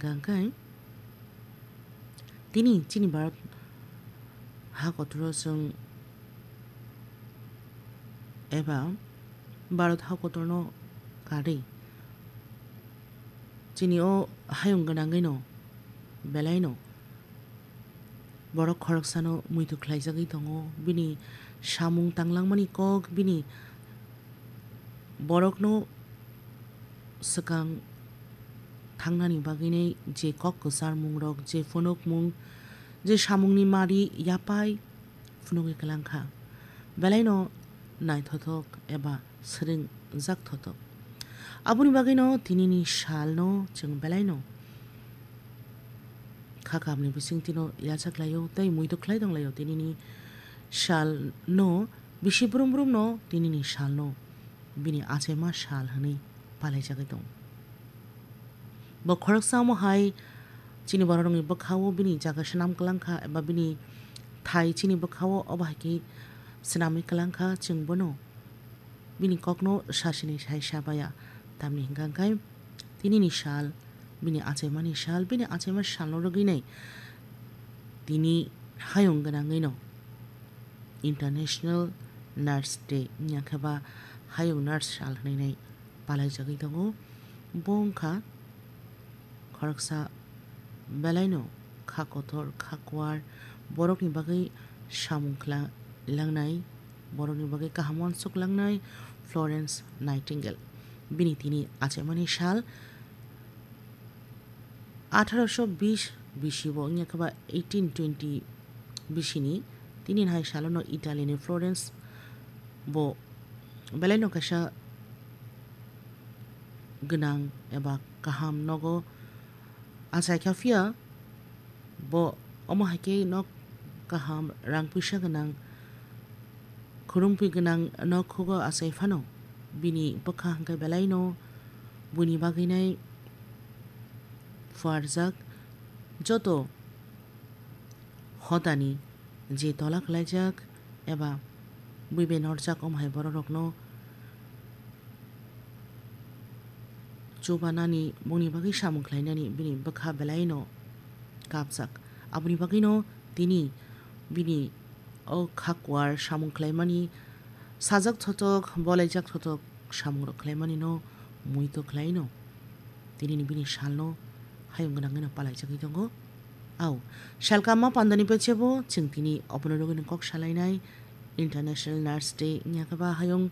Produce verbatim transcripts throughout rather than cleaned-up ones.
Hwnkhe tini chini Bharat ha kotoro chwng eba Bharat ha kotorno karwi chini o hayung gwnangwino belaino borok khoroksano muitu khlaijagwi tongo. Bini samung tanglangmani kok, bini borokno swkang thangnani bagwinai je kok kwcharmungrok, je phunukmung, je samungni mari yapai phunugwi kwlangkha, belaino naithothok eba swrwngjak thothok. Aboni bagwino tinini salno chwng belaino kha kahamni bisingtwino yachaklaio tei muitu khlai tonglaio. Tinini salno bisi brum brumno tinini salno bini achaima sal hwnwi palaijagwi tongo. Bo khoroksa omo hai chini bororokni bwkhao bini jaga swnam kwlangkha eba bini thai chini bwkhao obo hai khe swnamwi kwlangkha, chwng bono bini kokno sasinai sai sabaya. Tamni hwnkha khe tinini sal, bini achaimani sal, bini achaima salno rwgwinai tini hayung gwnangwino International Nurse Day wngya khe ba hayung nurse sal hwnwi nai palaijagwi tongo. Bo wngkha khoroksa belaino kha kotor, kha kuar, borokni bagwi samung khla-, langnai, borokni bagwi kaham uansuk langnai Florence Nightingale. Bini tini achaimani sal atharoso bish bisi bo wngya khe ba eighteen twenty bisini. Tini hai salono Italy ni Florence bo belaino kaisa gwnang eba kaham nogo achaikha, phiya bo omo hai khe nok kaham, rang puisa gwnang, khurumpi gwnang nok khugo achai phano bini bwkha hwnkhe belaino buini bagwinai phuarjak. Joto hodani je tola khlaijak eba buibai norjak, omo hai bororokno chubanani, bongni bagwi samung khlainani bini bwkha belaino kapjak. Aboni bagwino tini bini o kha kuar samung khlaimani sajak thothok, bolaijak thothok samungrok khlaimanino muitu khlaino. Tinini bini salno hayung gwnangwino palaijagwi tongo. Au, salkamma pandani pechebo chwng tini obono rwgwino kok salainai International Nurse Day wngya khe ba hayung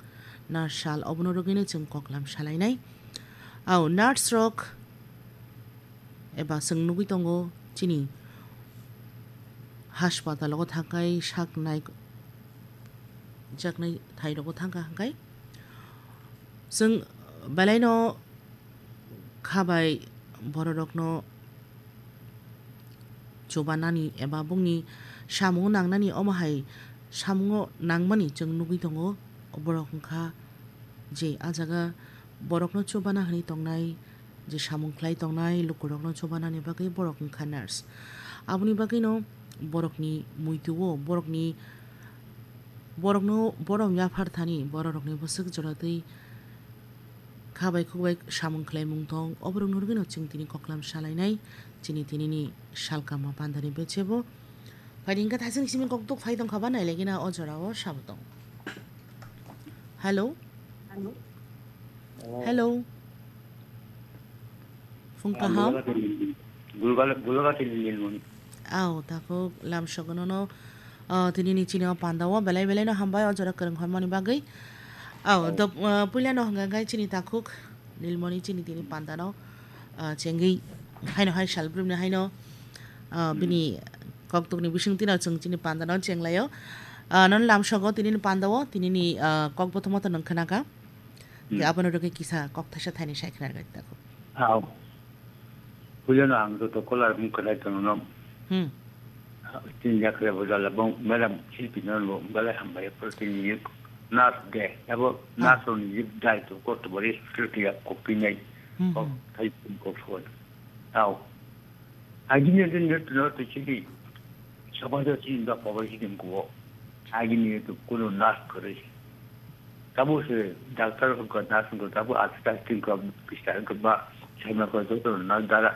nurse sal, obono rwgwino chwng koklam salainai. Au, nurse rok eba chwng nugwi tongo chini haspatalogo thangkhai sak nai jaknai thairogo thangkha hwnkhe chwng belaino kha bai bororokno chubanani eba bongni samungo nangnani, omo hai samungo nangmani chwng nugwi tongo. Borok wngkha je ah jaga borokno chubana hwnwi tongnai, je samung khlai tongnai lukurokno chubanani bagwi borok wngkha nurse. Aboni bagwino borokni muitu-o, borokni, borokno borom yaphar thani bororokni bwswk jora twi kha bai khuk bai samung khlaimung tong, oborokno rwgwino chwng tini koklam salainai chini tinini salkama pandani bechebo. Phaidi hwnkhe thaising simi kokduk phai tongkha ba nailaigina o jorao sabo tong. Hello? Hello? Hello? Phung kaham? Gulgala-, Gulagati Nilmoni. Au, takhuk lamsogono no, ah, tinini chini o panda o belai belai no hambai o jora kwrwng hwnmani bagwi. Au, dop-, ah, puila no hwnka khe chini takhuk Nilmoni chini tini panda no, ah, chengwi haino hai sal brumni haino, ah, bini koktukni bisingtwi no chwng chini panda no chenglaio. Ah, non lamsogo tinini panda o tinini, ah, kok bothoma to nung khwnaka. Hwnkhe abono rwgwi kisa kok thaisa thaini sai khna rwgwi takhuk. Au. Puilano ang joto kolar mung kwlai tongno. Hmm. Tin jakre bojala bong madam silpi no bo belai hambai pro tin yek nas de. Abo nas on yek dai to kot bori security ya kopinai. Hmm, kok hmm. Thai pun kok phone. Au. Agini din net no to chili. Sabada chin da pawai hidin ko. Agini to kuno nas kore. Tabo se doctor ko nurse ko tabo asita tin ko pista ko ba sama ko to na dara.